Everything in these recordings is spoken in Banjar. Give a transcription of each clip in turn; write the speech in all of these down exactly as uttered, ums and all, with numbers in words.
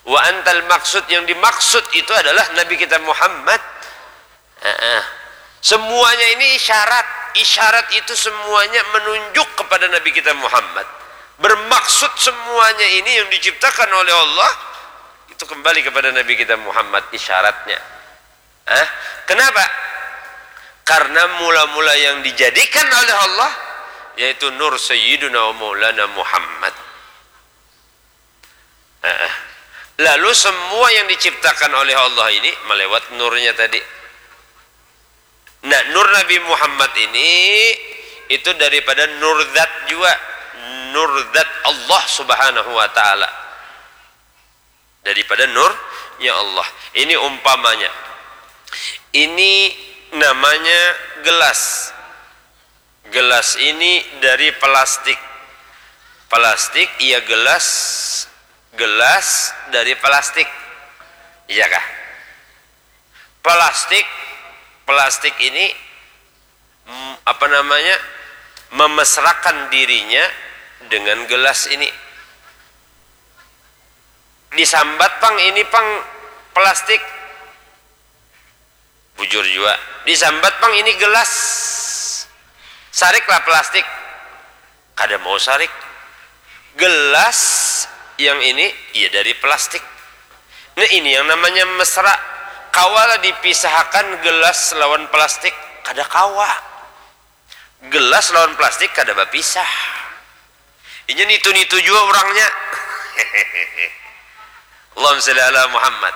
Wa antal maksud, yang dimaksud itu adalah Nabi kita Muhammad. Heeh. Semuanya ini isyarat. Isyarat itu semuanya menunjuk kepada Nabi kita Muhammad. Bermaksud semuanya ini yang diciptakan oleh Allah itu kembali kepada Nabi kita Muhammad isyaratnya. Hah? Kenapa? Karena mula-mula yang dijadikan oleh Allah yaitu nur Sayyiduna wa Maulana Muhammad. Heeh. Lalu semua yang diciptakan oleh Allah ini melewat nurnya tadi. Nah, nur Nabi Muhammad ini itu daripada nur zat juga, nur zat Allah Subhanahu wa taala. Daripada nurnya Allah. Ini umpamanya. Ini namanya gelas. Gelas ini dari plastik. Plastik, iya, gelas, gelas dari plastik. Iya kah? Plastik, plastik ini, mm, apa namanya, memesrakan dirinya dengan gelas ini. Disambat pang ini pang plastik. Bujur jua. Disambat pang ini gelas. Sariklah plastik. Kada mau sarik. Gelas yang ini, iya, dari plastik. Nah, ini yang namanya mesra. Kawalah dipisahkan gelas lawan plastik? Kada kawa. Gelas lawan plastik kada bapisah. Inya nitu-nitu jua urangnya. Allahumma shalli ala Muhammad.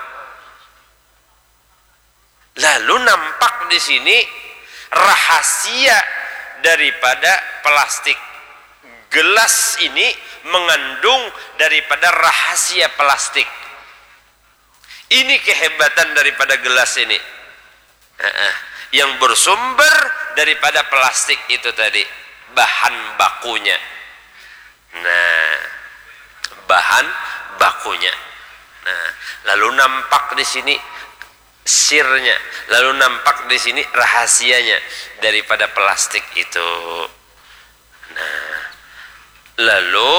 Lalu nampak di sini rahasia daripada plastik. Gelas ini mengandung daripada rahasia plastik. Ini kehebatan daripada gelas ini. Heeh. Yang bersumber daripada plastik itu tadi, bahan bakunya. Nah, bahan bakunya. Nah, lalu nampak di sini sirnya, lalu nampak di sini rahasianya daripada plastik itu. Nah, lalu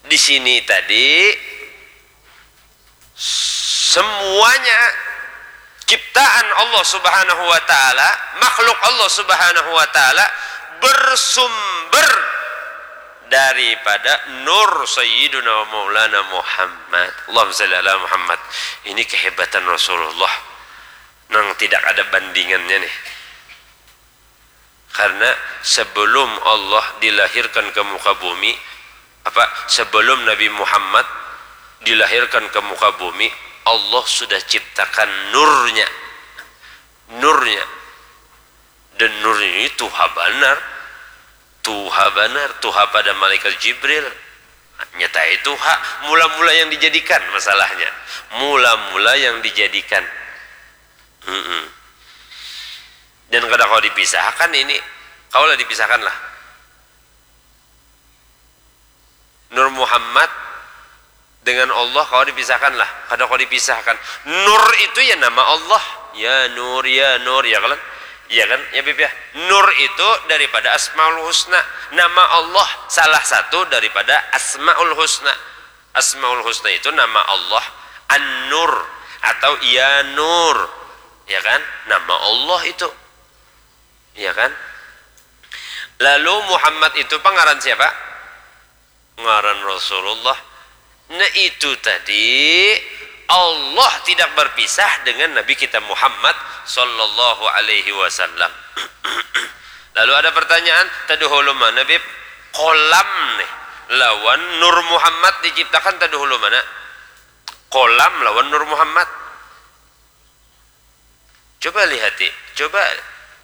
di sini tadi semuanya ciptaan Allah Subhanahu wa taala, makhluk Allah Subhanahu wa taala bersumber daripada nur Sayyiduna wa Maulana Muhammad. Allahumma shalli ala Muhammad. Ini kehebatan Rasulullah nang tidak ada bandingannya nih. Karena sebelum Allah dilahirkan ke muka bumi, apa, sebelum Nabi Muhammad dilahirkan ke muka bumi, Allah sudah ciptakan nurnya. Nurnya. Dan nurnya ini tuha banar. Tuha banar, tuha pada malaikat Jibril. Nyatai tuha, mula-mula yang dijadikan masalahnya. Mula-mula yang dijadikan. Mm-mm. Dan kada kawa dipisahkan ini. Kawalah dipisahkan lah. Nur Muhammad dengan Allah kawa dipisahkan lah. Kada kawa dipisahkan. Nur itu ya nama Allah. Ya Nur, ya Nur, ya kan? Ya kan? Ya, Bib, ya. Nur itu daripada Asmaul Husna. Nama Allah salah satu daripada Asmaul Husna. Asmaul Husna itu nama Allah. An-Nur atau Ya Nur. Ya kan? Nama Allah itu. Ya kan? Lalu Muhammad itu pangaran siapa? Ngaran Rasulullah. Nah, itu tadi Allah tidak berpisah dengan Nabi kita Muhammad sallallahu alaihi wasallam. Lalu ada pertanyaan, taduhulu mana, Bib? Kolam nih lawan Nur Muhammad diciptakan taduhulu mana? Kolam lawan Nur Muhammad. Coba lihati, coba,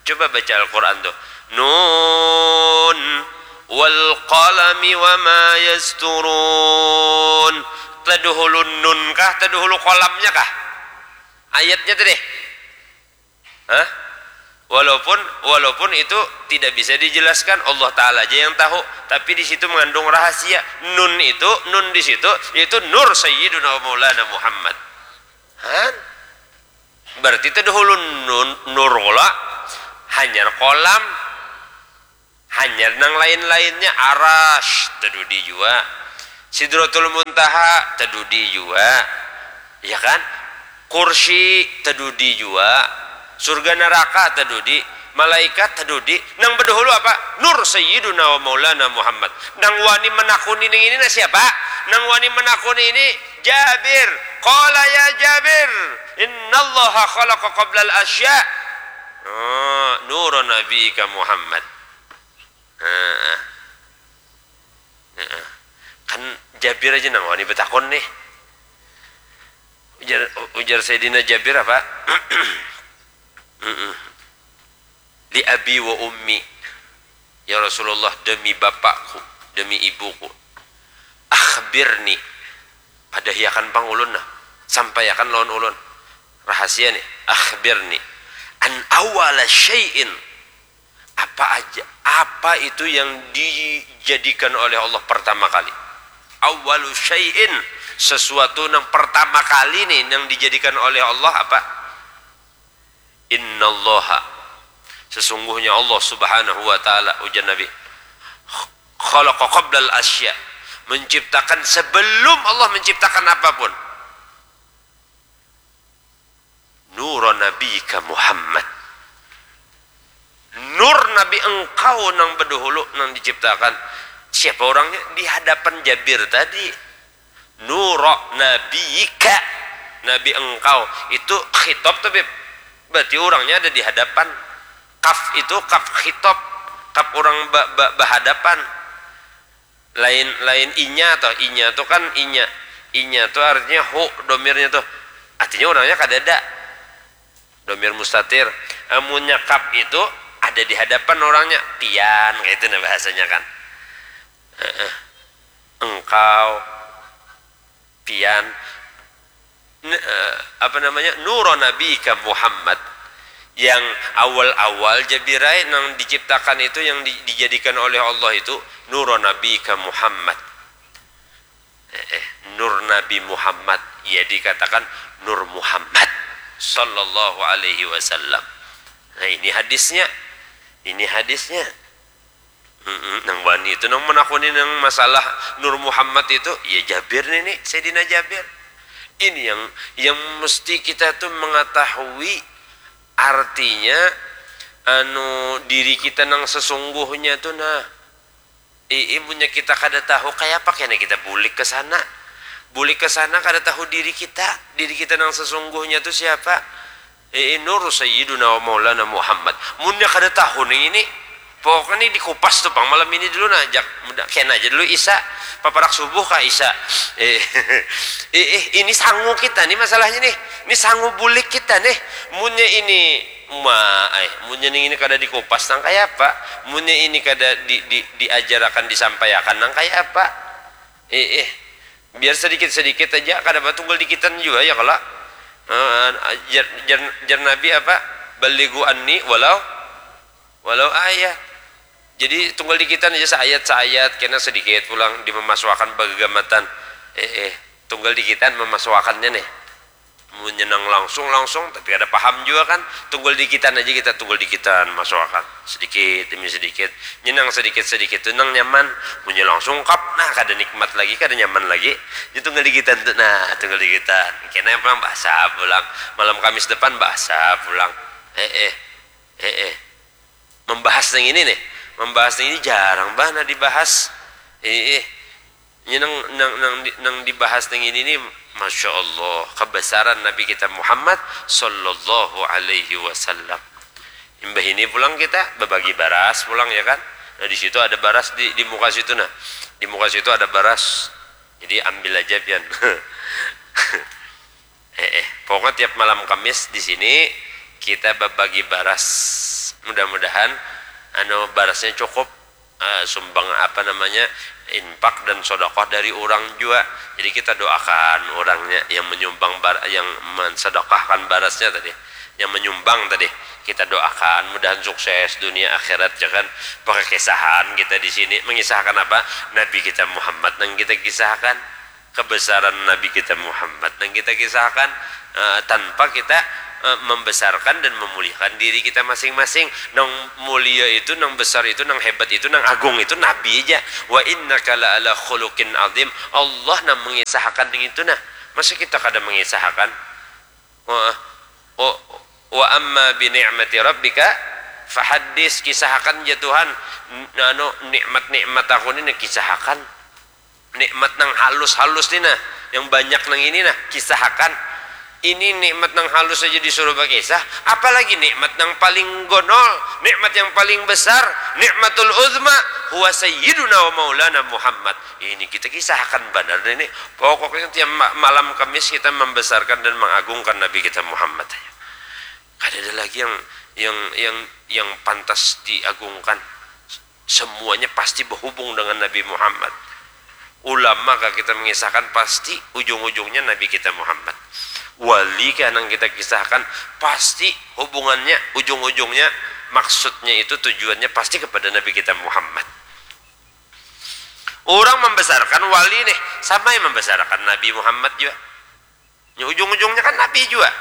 coba baca Al-Quran tuh. Nun wal qalami wa ma yasturun. Taduhulu nun kah, taduhulu kolamnya kah? Ayatnya tuh deh. Hah? Walaupun, walaupun itu tidak bisa dijelaskan, Allah Ta'ala aja yang tahu. Tapi di situ mengandung rahasia. Nun itu, nun di situ, yaitu Nur Sayyiduna Maulana Muhammad. Han? Berarti taduhulu nun, nur kula, hanyar kolam, hanyar nang lain-lainnya, arash, tadudi jua. Sidratul Muntaha tadudi jua, ya kan? Kursi tadudi jua, surga naraka tadudi, malaikat tadudi. Nang badahulu apa? Nur Sayyiduna wa Maulana Muhammad. Nang wani manakuni nang ini nah siapa? Nang wani manakuni ini Jabir. Qala ya Jabir, innallaha khalaqa qablal asya. Oh, nura nabika Muhammad. Nah, nah. Kan Jabir aja nang wani batakun nih. Ujar, ujar Sayyidina Jabir apa? Li abi wa ummi. Ya Rasulullah, demi bapakku, demi ibuku. Akhbirni. Padahiakan pang ulun nah. Sampaiakan lawan ulun. Rahasia nih. Akhbirni. An awala syai'in. Apa aja, apa itu yang dijadikan oleh Allah pertama kali? Awalu syai'in, sesuatu yang pertama kali nih yang dijadikan oleh Allah apa? Innallaha, sesungguhnya Allah Subhanahu wa Ta'ala, ujar Nabi, khalaqa qablal asya, menciptakan sebelum Allah menciptakan apapun. Nura nabika Muhammad. Nur Nabi engkau nang badahulu nang diciptakan. Siapa orangnya? Di hadapan Jabir tadi. Nura nabika, Nabi engkau. Itu khitab tu, Bib. Berarti orangnya ada di hadapan. Kaf itu kaf khitab. Kaf orang ba, ba, bahadapan. Lain, lain inya toh, inya tu kan inya, inya tu artinya hu domirnya tuh, artinya orangnya kadada, domir mustatir. Amunnya kap itu ada di hadapan orangnya, pian, kayak itu nah bahasanya kan. Heeh. Engkau, pian, N- eh, apa namanya, nura nabika Muhammad, yang awal-awal jabirai nang diciptakan itu, yang di- dijadikan oleh Allah itu nura nabika Muhammad. Eh, eh, nur Nabi Muhammad, ya dikatakan nur Muhammad sallallahu alaihi wasallam. Nah, ini hadisnya, ini hadisnya. Mm-mm, nang wani itu nang menakuni nang masalah Nur Muhammad itu, ya Jabir nini, Sayyidina Jabir. Ini yang yang mesti kita tuh mengetahui artinya, anu, diri kita nang sesungguhnya tuh nah. Ii, munnya kita kada tahu, kaya apa kena kita bulik ke sana? Bulik ke sana kada tahu diri kita, diri kita nang sesungguhnya tuh siapa? Ii, nur sayyiduna wa maulana Muhammad. Munnya kada tahu nih ini, pokoknya nih dikupas tuh pang malam ini dulu nah, jak muda kena aja dulu isa, paparak subuh ka isa. Ih, ih, ini sangu kita nih masalahnya nih. Ini sangu bulik kita nih. Munnya ini ma, eh, munnya nih ini kada dikupas nang kaya apa? Munnya ini kada di, di, diajarakan, disampaiakan nang kaya apa? Ih, ih. Biar sedikit-sedikit aja, kada apa tunggal dikitan jua ya kalo. Eh, jar, jar, jar Nabi apa? Balighu anni walau walau ayat. Jadi tunggal dikitan aja saayat-saayat, kena sedikit pulang dimamasuakan bagagamatan. Eh, eh, tunggal dikitan mamasuakannya nih. Munnya nang langsung-langsung tapi kada paham jua kan, tunggal dikitan aja kita, tunggal dikitan masuakan sedikit demi sedikit. Nya nang sedikit-sedikit tu nang nyaman. Munnya langsung kap, nah kada nikmat lagi, kada nyaman lagi. Nya tunggal dikitan tu, nah tunggal dikitan. Kena pulang bahasa pulang, malam Kamis depan bahasa pulang. Eh, eh, eh, eh. Membahas nang ini nih, membahas nang ini jarang banar dibahas. Ih, ih. Ini nang, nang, nang, di- nang dibahas nang ini nih, masya Allah, kebesaran Nabi kita Muhammad sallallahu alaihi wasallam. Imbah ini pulang kita babagi baras pulang ya kan. Nah di situ ada baras di, di muka situ nah. Di muka situ ada baras. Jadi ambil aja pian. Eh, eh, pokoknya tiap malam Kamis di sini kita babagi baras. Mudah-mudahan anu barasnya cukup, eh, sumbang apa namanya, infak dan sodakoh dari orang jua. Jadi kita doakan orangnya yang menyumbang bar yang mensedekahkan barasnya tadi, yang menyumbang tadi. Kita doakan mudahan sukses dunia akhirat ya kan. Pakai kisahan kita di sini mengisahkan apa? Nabi kita Muhammad yang kita kisahkan. Kebesaran Nabi kita Muhammad yang kita kisahkan, eh, tanpa kita eh, membesarkan dan memuliakan diri kita masing-masing. Nang mulia itu, nang besar itu, nang hebat itu, nang agung itu Nabi aja. Wa innaka la ala khuluqin azim. Allah nang mengisahakan itu nah. Masa kita kada mengisahakan? Wa, wa, wa amma bi ni'mati rabbika fahaddis, kisahakan ja Tuhan, anu, nikmat-nikmat aku ni kisahakan. Nikmat nang halus-halus ni nah, yang banyak nang ini nah, kisahakan. Ini nikmat nang halus saja disuruh bakisah, apalagi nikmat nang paling gonol, nikmat yang paling besar, nikmatul uzma, huwa sayyiduna wa maulana Muhammad. Ini kita kisahakan banar ini. Pokoknya tiap malam Kamis kita membesarkan dan mengagungkan Nabi kita Muhammad. Kada ada lagi yang yang yang yang pantas diagungkan. Semuanya pasti berhubung dengan Nabi Muhammad. Ulama kah kita mengisahkan, pasti ujung-ujungnya Nabi kita Muhammad. Wali kah nang kita kisahkan, pasti hubungannya ujung-ujungnya, maksudnya itu tujuannya pasti kepada Nabi kita Muhammad. Orang membesarkan wali nih, sama yang membesarkan Nabi Muhammad juga. Nya ujung-ujungnya kan Nabi juga.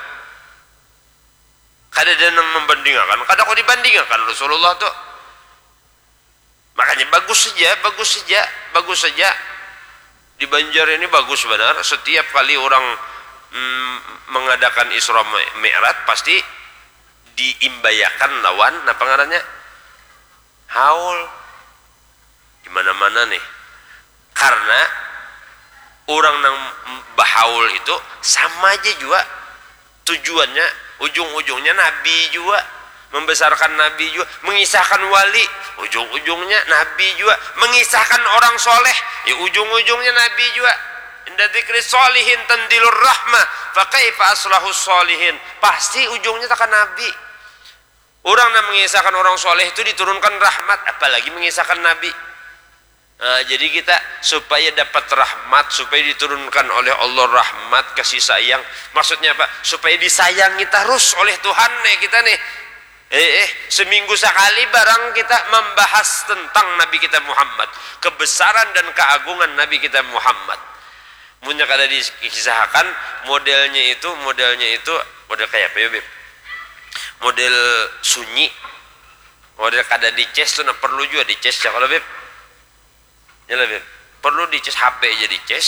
Kada ada nang membandingakan, kada kau dibandingakan Rasulullah tu. Makanya bagus saja, bagus saja, bagus saja. Di Banjar ini bagus banar. Setiap kali orang mm, mengadakan Isra Mi'raj, pasti diimbayakan lawan, napa ngarannya? Haul. Di mana-mana nih. Karena orang nang bahaul itu sama aja juga tujuannya, ujung-ujungnya Nabi juga, membesarkan Nabi juga, mengisahkan wali, ujung-ujungnya Nabi juga, mengisahkan orang soleh, ya ujung-ujungnya Nabi juga. Inda dzikri solihin tanzilur rahmah, fakaifa aslahu solihin. Pasti ujungnya takkan Nabi. Orang yang mengisahkan orang soleh itu diturunkan rahmat, apalagi mengisahkan Nabi. Nah, jadi kita supaya dapat rahmat, supaya diturunkan oleh Allah rahmat, kasih sayang. Maksudnya apa? Supaya disayangi terus oleh Tuhan nih kita nih. Eh, eh, seminggu sekali barang kita membahas tentang Nabi kita Muhammad, kebesaran dan keagungan Nabi kita Muhammad. Munnya kada dikisahakan modelnya itu, modelnya itu model kayak apa ya, Beb? Model sunyi, model kada dicas tuh, nah perlu juga dicas ya kalau, Beb. Ya lah, Beb. Perlu dicas, H P aja dicas.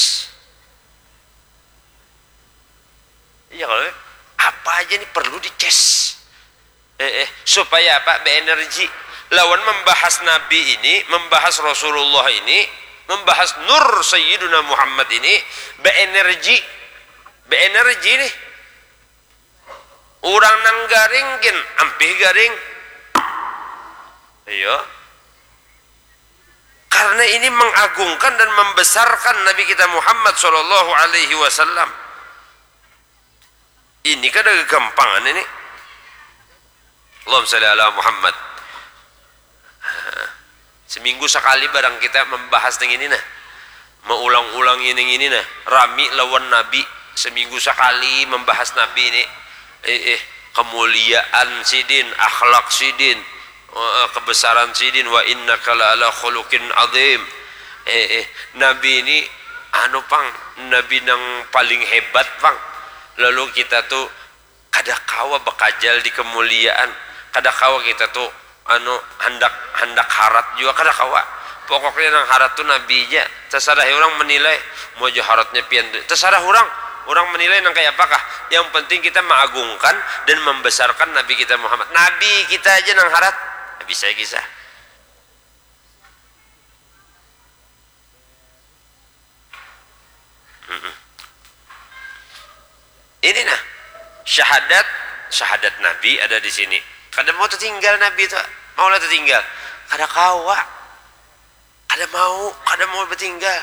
Iya kalau, Beb. Apa aja nih perlu dicas. Eh, eh, supaya apa? Beenergi. Lawan membahas Nabi ini, membahas Rasulullah ini, membahas Nur Sayyiduna Muhammad ini, beenergi. Beenergi nih. Orang nang garing gin ampih garing. Iya. Karena ini mengagungkan dan membesarkan Nabi kita Muhammad sallallahu alaihi wasallam. Ini kada gagampangan ini. Allahumma shalli ala Muhammad. Seminggu sekali barang kita membahas nang ini nah. Maulang-ulang ini ini nah. Rami lawan Nabi. Seminggu sekali membahas Nabi ini. Eh, eh, kemuliaan sidin, akhlak sidin, eh, kebesaran sidin. Wa innaka la ala khuluqin azim. Eh, eh, Nabi ini anu pang, Nabi nang paling hebat pang. Lalu kita tuh kada kawa bakajal di kemuliaan, kada kawa kita tu anu handak handak harat jua kada kawa. Pokoknya nang harat tu Nabi ja. Tasarah orang menilai, mau ja haratnya pian tu, tasarah orang. Orang menilai nang kaya apakah, yang penting kita maagungkan dan membesarkan Nabi kita Muhammad. Nabi kita aja nang harat. Habis saya kisah. Ini nah, syahadat, syahadat Nabi ada di sini. Kada mau tertinggal Nabi tu, mau lah tertinggal. Kada kawa, kada mau, kada mau bertinggal.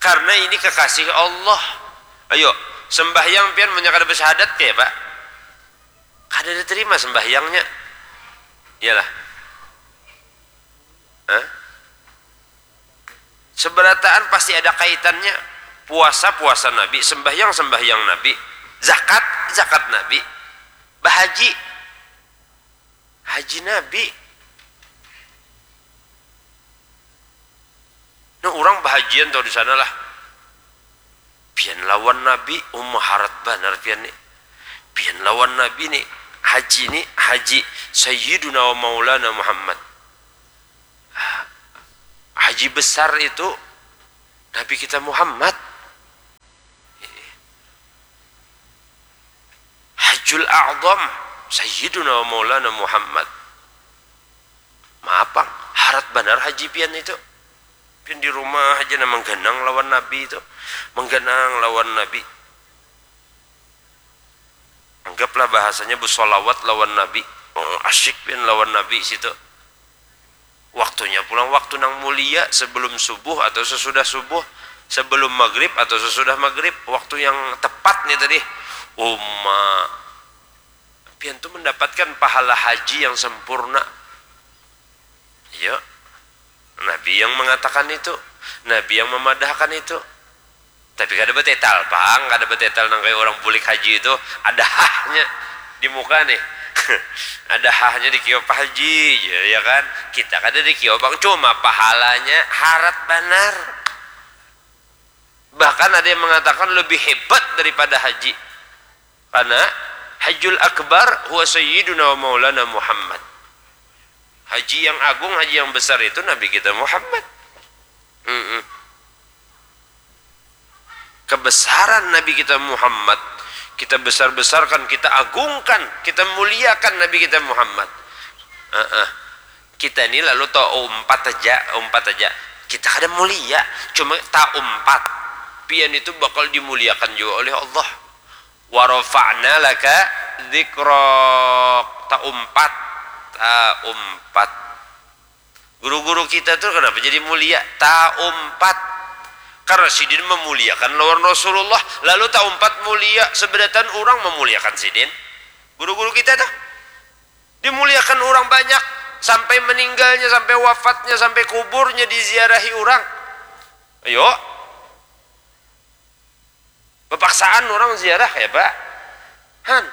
Karena ini kekasih Allah. Ayo, sembahyang pian punya kada bersyahadat ke, Pak? Kada diterima sembahyangnya. Iyalah. Hah? Seberataan pasti ada kaitannya. Puasa, puasa Nabi, sembahyang, sembahyang Nabi, zakat, zakat Nabi, bahaji, haji Nabi. Nah, orang bahajian tau di sana lah. Pian lawan Nabi, uma harat banar pian ni. Pi Lawan Nabi ni, haji ni, haji Sayyiduna wa Maulana Muhammad. Haji besar itu Nabi kita Muhammad. Hajjul A'zam Sayyiduna wa Maulana Muhammad. Maapang, harat banar haji pian itu. Pian di rumah aja nah mengganang lawan Nabi itu. Mengganang lawan Nabi. Anggaplah bahasanya bersolawat lawan Nabi. Oh, asyik pian lawan Nabi situ. Waktunya pulang waktu nang mulia, sebelum subuh atau sesudah subuh, sebelum maghrib atau sesudah maghrib, waktu yang tepat nih tadi. Uma, pian tuh mendapatkan pahala haji yang sempurna. Iya, Nabi yang mengatakan itu, Nabi yang memadahkan itu. Tapi kada betetal pang, kada betetal nang kayak orang bulik haji itu, ada hahnya di muka nih. Ada hahnya di kiop haji, ya, ya kan? Kita kada di kiop pang, cuma pahalanya harat banar. Bahkan ada yang mengatakan lebih hebat daripada haji. Karena Hajjul Akbar huwa Sayyiduna wa Maulana Muhammad. Haji yang agung, haji yang besar itu Nabi kita Muhammad. Mm-mm. Kebesaran Nabi kita Muhammad, kita besar-besarkan, kita agungkan, kita muliakan Nabi kita Muhammad. Uh-uh. Kita ini lalu tahu umpat aja, umpat aja. Kita kada mulia, cuma taumpat. Pian itu bakal dimuliakan juga oleh Allah. Warofa'na laka dzikrak. Taumpat, taumpat. Guru-guru kita tuh kenapa jadi mulia? Taumpat. Karena sidin memuliakan lawan Rasulullah, lalu taumpat mulia, seberatan orang memuliakan sidin. Guru-guru kita tuh dimuliakan orang banyak, sampai meninggalnya, sampai wafatnya, sampai kuburnya diziarahi orang. Ayo, bepaksaan orang ziarah kayak apa? Han.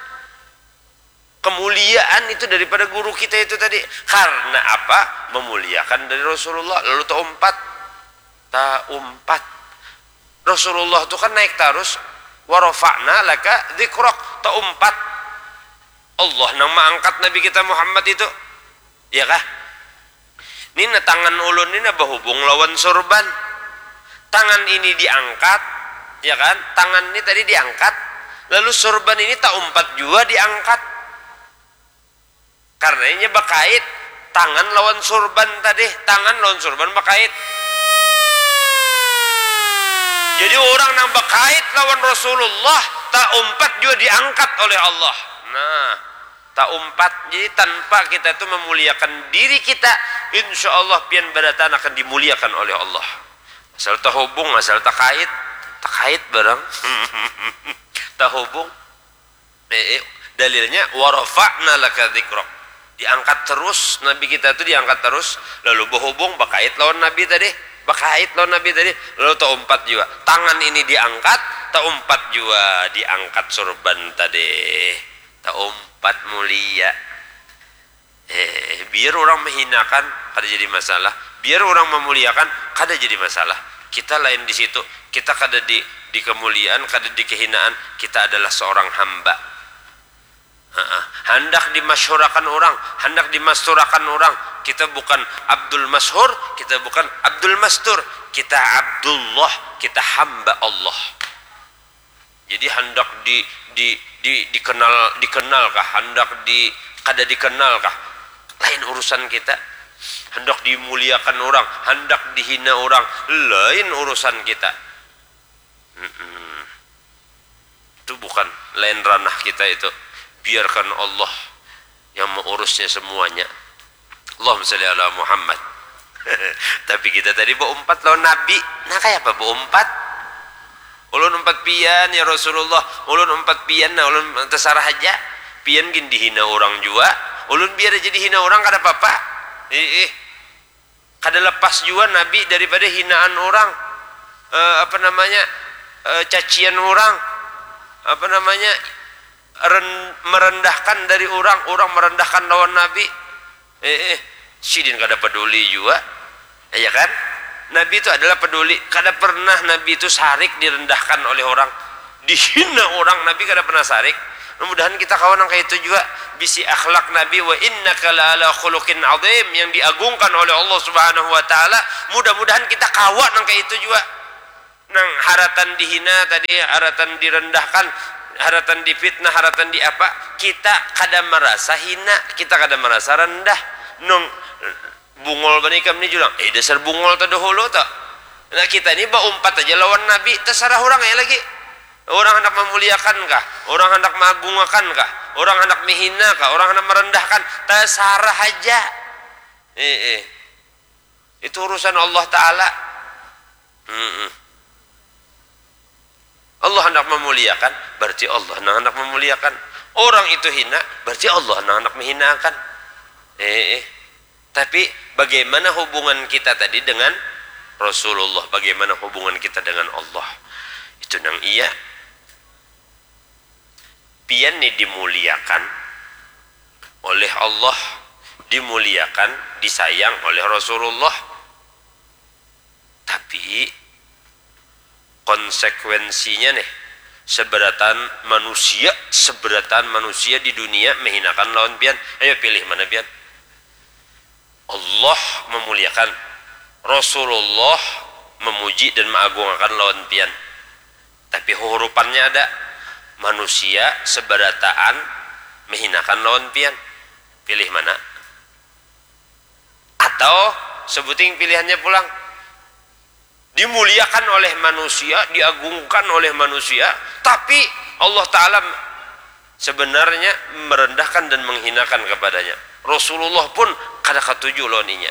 Kemuliaan itu daripada guru kita itu tadi. Karena apa? Memuliakan dari Rasulullah, lalu taumpat. Taumpat. Rasulullah tuh kan naik tarus. Warofa'na laka dzikrak. Taumpat. Allah nang mengangkat Nabi kita Muhammad itu. Ya kah? Ini nah tangan ulun ini nah bahubung lawan surban. Tangan ini diangkat, ya kan? Tangan ini tadi diangkat, lalu surban ini taumpat juga diangkat. Karena inya bakait tangan lawan surban tadi, tangan lawan surban bakait. Jadi orang nang bakait lawan Rasulullah taumpat juga diangkat oleh Allah. Nah, taumpat. Jadi tanpa kita tuh memuliakan diri kita, insya Allah pian barataan akan dimuliakan oleh Allah. Asal tahubung, asal takait, takait barang. Tahubung. Eh, eh, dalilnya warafa'na laka dzikrak. Diangkat terus Nabi kita tuh diangkat terus, lalu berhubung bakait lawan Nabi tadi, bakait lawan Nabi tadi, lalu taumpat juga. Tangan ini diangkat, taumpat juga diangkat surban tadi. Taumpat mulia. Eh, biar orang menghinakan kada jadi masalah, biar orang memuliakan kada jadi masalah. Kita lain di situ, kita kada di di kemuliaan, kada di kehinaan, kita adalah seorang hamba. Heeh. Handak dimasyhurakan orang, handak dimasturakan orang, kita bukan Abdul Masyhur, kita bukan Abdul Mastur, kita Abdullah, kita hamba Allah. Jadi handak di di di dikenal dikenal kah, handak di kada dikenal kah, lain urusan kita. Handak dimuliakan orang, handak dihina orang, lain urusan kita. Mm-mm. Itu bukan lain ranah kita itu. Biarkan Allah yang mengurusnya semuanya. Allahumma sholli ala Muhammad. Tapi kita tadi berempat lawan Nabi. Nah, kayak apa berempat? Ulun empat pian ya Rasulullah, ulun empat pian nah, ulun terserah aja. Pian gin dihina orang jua, ulun biar aja dihina orang kada apa-apa. Ih, ih. Kada lepas jua Nabi daripada hinaan orang, eh, apa namanya, eh, cacian orang, apa namanya, ren- merendahkan dari orang, orang merendahkan lawan Nabi. Eh, eh, sidin kada peduli jua, ya kan? Nabi itu adalah peduli, kada pernah Nabi itu sarik direndahkan oleh orang, dihina orang, Nabi kada pernah sarik. Mudah-mudahan kita kawa nang kaitu jua, bisi akhlak Nabi, wa innaka la'ala khuluqin azim, yang diagungkan oleh Allah Subhanahu wa Ta'ala. Mudah-mudahan kita kawa nang kaitu jua, nang haratan dihina tadi, haratan direndahkan, haratan difitnah, haratan diapa, kita kada marasa hina, kita kada marasa rendah. Nung bungul banar ikam ni, Julang. Eh, dasar bungul tadahulu tu. Nah, kita ni baumpat aja lawan Nabi, tasarah urang ai lagi. Urang handak mamuliakan kah? Urang handak maagungakan kah? Urang handak mahina kah? Urang handak marandahkan? Tasarah haja. Eh, eh. Itu urusan Allah Ta'ala. Mm-mm. Allah handak mamuliakan, berarti Allah nang handak mamuliakan. Urang itu hina, berarti Allah nang handak mahinakan. Eh, eh. Tapi bagaimana hubungan kita tadi dengan Rasulullah? Bagaimana hubungan kita dengan Allah? Itu nang iya. Pian ni dimuliakan oleh Allah, dimuliakan, disayang oleh Rasulullah. Tapi konsekuensinya nih, seberataan manusia, seberataan manusia di dunia mahinakan lawan pian. Ayo pilih mana pian? Allah memuliakan, Rasulullah memuji dan maagungakan lawan pian. Tapi hurupannya ada, manusia seberataan mahinakan lawan pian. Pilih mana? Atau sebuting pilihannya pulang, dimuliakan oleh manusia, diagungkan oleh manusia, tapi Allah Ta'ala sebenarnya merendahkan dan menghinakan kepadanya. Rasulullah pun kada katuju lawan inya.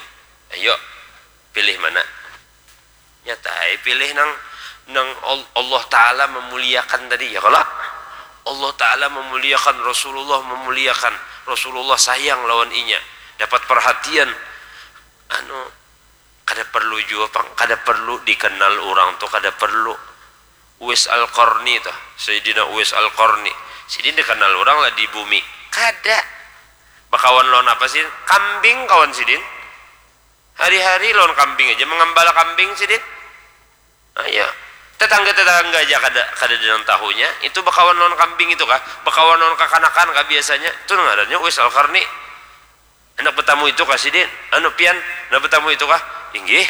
Ayo, pilih mana? Nyata ai pilih nang, nang Al-, Allah Ta'ala memuliakan tadi, ya kalo? Allah Ta'ala memuliakan, Rasulullah memuliakan, Rasulullah sayang lawan inya, dapat perhatian. Anu, kada perlu jua pang, kada perlu dikenal urang tu, kada perlu. Uwais Al-Qarni tuh, Sayyidina Uwais Al-Qarni. Sidin dikenal urang lah di bumi? Kada. Bakawan lawan apa sidin? Kambing kawan sidin. Hari-hari lawan kambing aja, mangambala kambing sidin. Ayo. Tetangga-tetangga aja kada, kada ada nang tahunya. Itu bakawan lawan kambing itu kah? Bakawan lawan kakanakan kah biasanya? Itu ngarannya Uwais Al-Qarni. Handak batamu itu kah sidin? Anu, pian handak batamu itu kah? Inggih,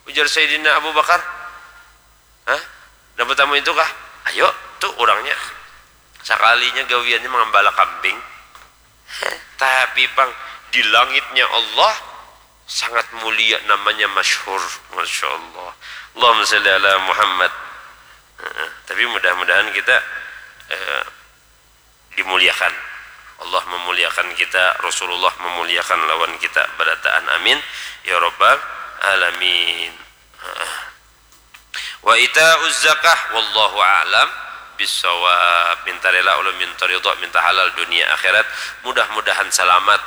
ujar Sayyidina Abu Bakar. Hah? Handak batamu itu kah? Ayo, tu urangnya. Sakalinya gawiannya mangambala kambing. Heh, tapi pang, di langitnya Allah sangat mulia, namanya masyhur. Masya Allah. Allahumma shalli ala Muhammad. Heeh. Tapi mudah-mudahan kita, eh, dimuliakan. Allah memuliakan kita, Rasulullah memuliakan lawan kita barataan. Amin ya rabbal alamin. Heeh. Wa ita'uz zakah, wallahu a'lam bissawab. Minta rela ulun, minta ridha, minta halal dunia akhirat. Mudah-mudahan salamat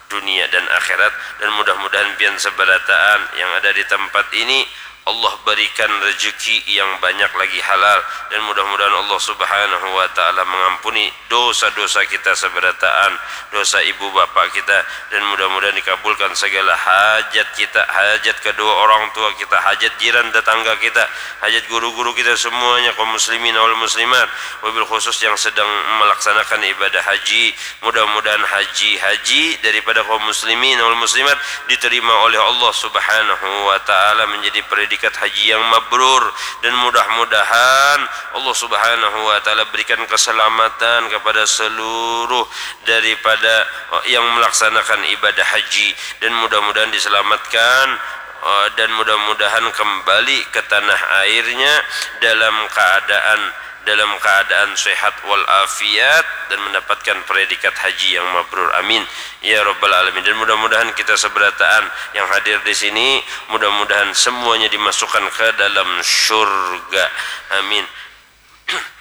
dunia dan akhirat, dan mudah-mudahan pian sabarataan yang ada di tempat ini Allah berikan rezeki yang banyak lagi halal, dan mudah-mudahan Allah Subhanahu wa Ta'ala mengampuni dosa-dosa kita sabarataan, dosa ibu bapa kita, dan mudah-mudahan dikabulkan segala hajat kita, hajat kedua orang tua kita, hajat jiran tetangga kita, hajat guru-guru kita semuanya, kaum muslimin wal muslimat, wabil khusus yang sedang melaksanakan ibadah haji. Mudah-mudahan haji-haji daripada kaum muslimin wal muslimat diterima oleh Allah Subhanahu wa Ta'ala, menjadi predikat haji yang mabrur, dan mudah-mudahan Allah Subhanahu wa Ta'ala berikan keselamatan kepada seluruh daripada, eh, yang melaksanakan ibadah haji, dan mudah-mudahan diselamatkan, eh, dan mudah-mudahan kembali ke tanah airnya dalam keadaan, dalam keadaan sehat wal afiat dan mendapatkan predikat haji yang mabrur. Amin ya rabbal alamin. Dan mudah-mudahan kita seberataan yang hadir di sini, mudah-mudahan semuanya dimasukkan ke dalam syurga. Amin.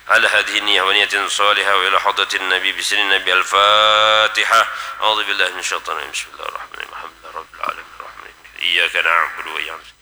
Ala hadhihi niyah wa niyatin salihah wa ila hadratin Nabi bisirrin Nabi. Al-Fatihah. A'udzu billahi minasyaitonir rajim. Bismillahirrahmanirrahim. Alhamdulillahi rabbil alamin. Arrahmanirrahim. Iyyaka na'budu wa iyyaka nasta'in.